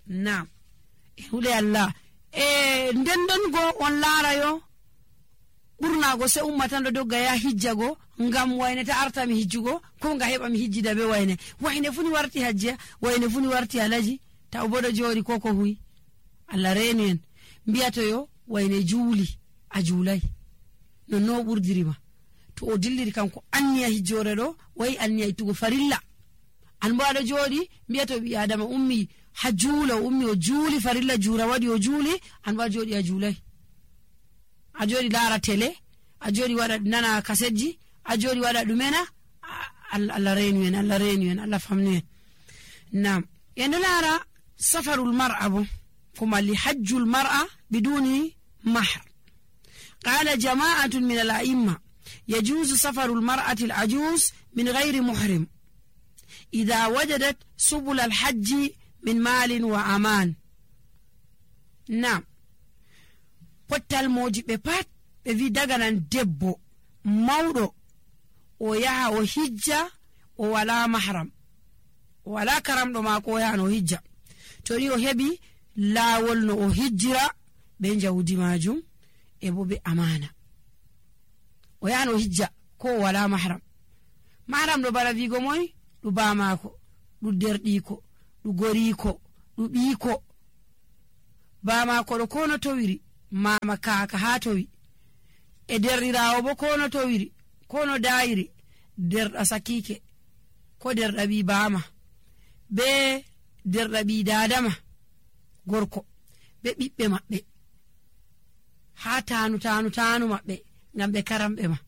Naam, hule Allah nden don go on laarayo ɓurna go se ummatan do dogga ya hijja go ngam wayne ta arta mi hijjugo ko nga heba mi hijjida be wayne funi warti hajja wayne funi warti alaji ta bodo jori koko huyi Allah reenu en biyato yo wayne juuli a juulay no burdirima to o dilliri kanko anniya hijjore do way anniya itugo farilla an baado jodi biyato bi adama ummi hajula ummi o juuli farilla jura wadi o juuli an ba jodi a juulay a jodi lara tele a jodi wada nana kaseji a jodi wada dumena Allah reenu en Allah famnu en nam yendo lara safarul mar'a kuma li hajjul mar'a biduni mahr qala jama'atun min al-a'imma يجوز سفر المرأة العجوز من غير محرم إذا وجدت سبل الحج من مال وأمان. نعم pottal moji be pat be vi daga nan debbo mawdo o yaha o hijja o wala mahram o wala karamdo mako o yaha no hijja to ri o hebi lawol no o hijjira be jawdi majum e bo be amana o yaha no hijja ko wala mahram do bara vigo moy du ba mako du derdiko du goriko du biko ba mako do kono to wiri mama kaka ha towi e derrirawo bo kono to wiri kono dairi derda sakike ko derda bi bama be derda bi dadama gorko be bibbe mabbe ha tanu mabbe ngam be karambe ma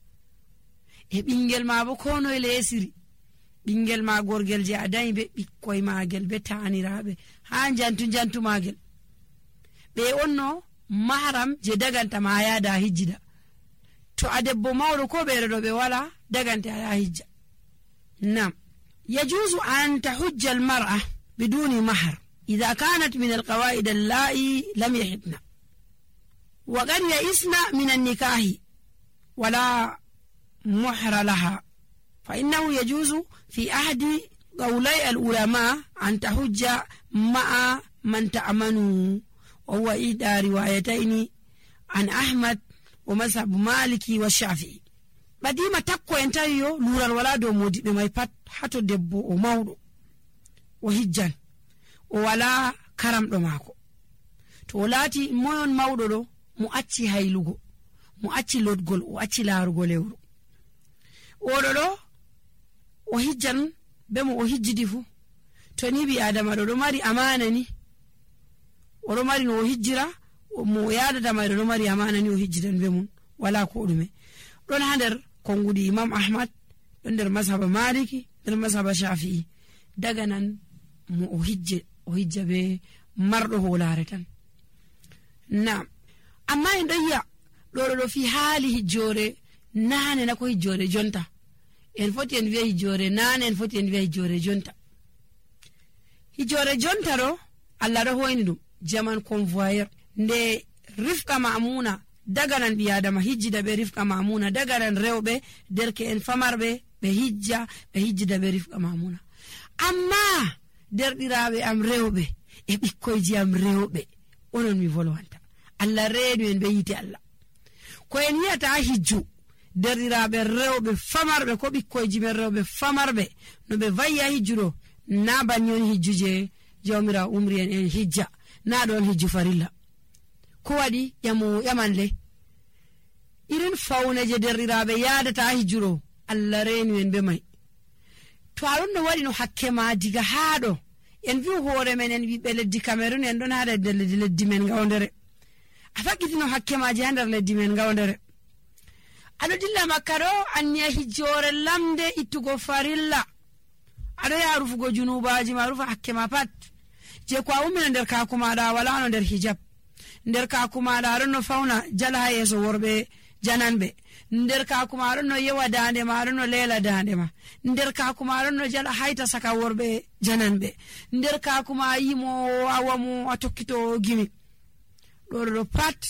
e bingel ma bo kono e lesiri bingel ma gorgel je adai be bikkoy magel be tanirabe ha jantu magel be onno mahram je daganta ma yaada hijjida to adebbo mawdo ko beere do be wala daganta ya hijja. Nam yajuzu an tahujja al-mar'a biduni mahr idha kanat min al-qawaid allati lam yahidna wa qad ya'isna min an-nikahi wala muhra laha fa innahu yajuzu fi ahdi qawlai al-ulama an tahujja ma'a man ta'amanu وهو إحدى روايتين عن أحمد ومذهب مالكي والشافعي. بديما تقوى انتايو لورا الولاد ومودي بما يبات حتو دبو ومودو وهجان ولا كرم دماكو تولاتي موين مودو دو مؤتي هايلوغو مؤتي لودغول وأتي لارغو ليورو ودو وهجان بمو وهجدفو تنيبي آدم دو ماري أمانني oro mari no hijjira mo yaadata mai do mari amana ni o hijjidan be mun wala ko dume don hander kongudi Imam Ahmad don der mazhab Maliki der mazhab Shafi'i daga nan mo o hijja be mardo holare tan. Na amma indaya do fi hali hijjore nane na ko hijjore jonta en foti en wi hijjore nane en foti en wi hijjore jonta ro Allah do hoyni dum jaman convoyeur nde rifka mamuna daga nan biadama hijjida be rifka mamuna daga nan rewbe derke en famarbe be hijjida be rifka mamuna amma derdirabe am rewbe e bikkoyji am rewbe onon mi volwanta Allah reedu en be yiti Allah ko en yata hijju derdirabe rewbe famarbe ko bikkoyji men rewbe famarbe no be vayya hijjuro na banyon hijjuje jawmira umri en hijja na don hijju farilla ko wadi yamanle irin fauna je derrirabe yaadata hijjuro Allah reenu en be mai to alon no wadi no hakke ma diga haado en vi hoore men en wi be leddi Cameroon en don haada leddi men gawndere afakiti no hakke ma je handar leddi men gawndere ado dilla makkaro anniya hijjore lamde ittugo farilla ado ya rufugo junubaji ma rufa hakke ma pat je kwa umina nder ka kuma da wala no nder hijab nder ka kuma da ron no fauna jala yeso worbe jananbe nder ka kuma ron no yewa dande ma ron no lela dande ma nder ka kuma ron no jala haita saka worbe jananbe nder ka kuma yimo awamu atokito gimi do pat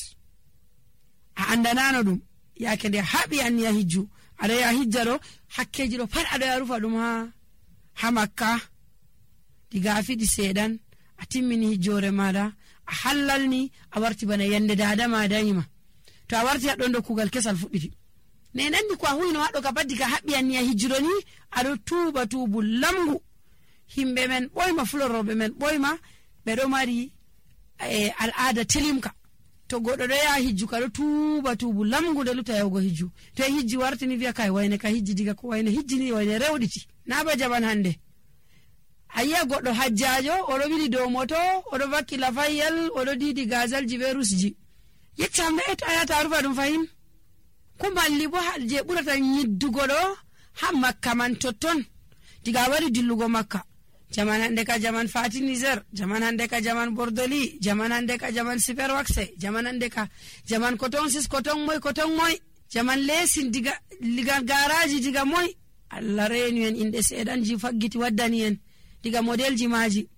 a andanano dum yake de habi an ya hijju ada ya hijjaro hakkeji do pat ada ya rufa dum ha Makka diga fidi sedan a timmini hijjore maɗa a hallalni a warti bana yande dada ma dayima to a warti haɗɗon do kugal kesal fuɗɗiti ne nandi ko a huyno haɗo ka baddi ka haɓɓiyanni a hijjiro ni aɗo tuuba tuubu lamgu himɓe men ɓoyma fuloroɓe men ɓoyma ɓeɗo mari al'ada telimka to goɗɗo ɗo yaha hijju ka ɗo tuuba tuubu lamgu nde luta yahugo hijju to e hijji wartini wiya kai wayne ka hijji diga ko wayne hijjini wayne rewɗiti na ba jaban hande a yi'a goɗɗo hajjajo oɗo ɓili dow moto oɗo vakki lafayyal oɗo didi gazalji ɓe rusji yeccam ɓe to a yata a rufa ɗum fahin ko malli bo je ɓurata nyiddugo ɗo ha makka man totton diga a wari dillugo makka jaman hande ka jaman fati niger jaman hande ka jaman bordoli jaman hande ka jaman super waxe jaman hande ka jaman coton sis coton moy jaman lesin diga garaji diga moy Allah reni en inde sedanji faggiti waddani en diga modelji maji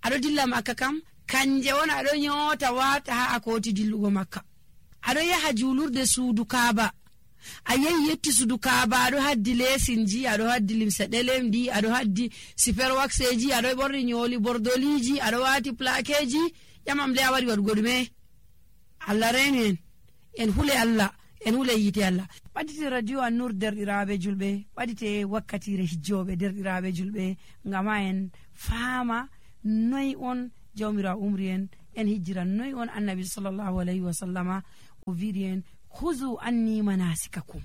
aɗo dilla makka kam kanje wona aɗo nyota wata ha akoti dillugo makka aɗo yaha julurde suudu kaaba a yehi yetti suudu kaaba aɗo haddi lesinji aɗo haddi limse ɗelemdi aɗo haddi super waxeji aɗo ɓorni nyoli bordoliji aɗo wati plaqueji ƴamam le a wari waɗugo ɗume Allah reni en hule Allah en hule yite Allah ɓaɗite radio An-Nur derɗiraɓe julɓe ɓaɗite wakkatire hijjoɓe derɗiraɓe julɓe ngama en faama noy on jawmira umri en hijjiran noy on annabi sallallahu alayhi wa sallama o wiɗi en huzu anni manasikakum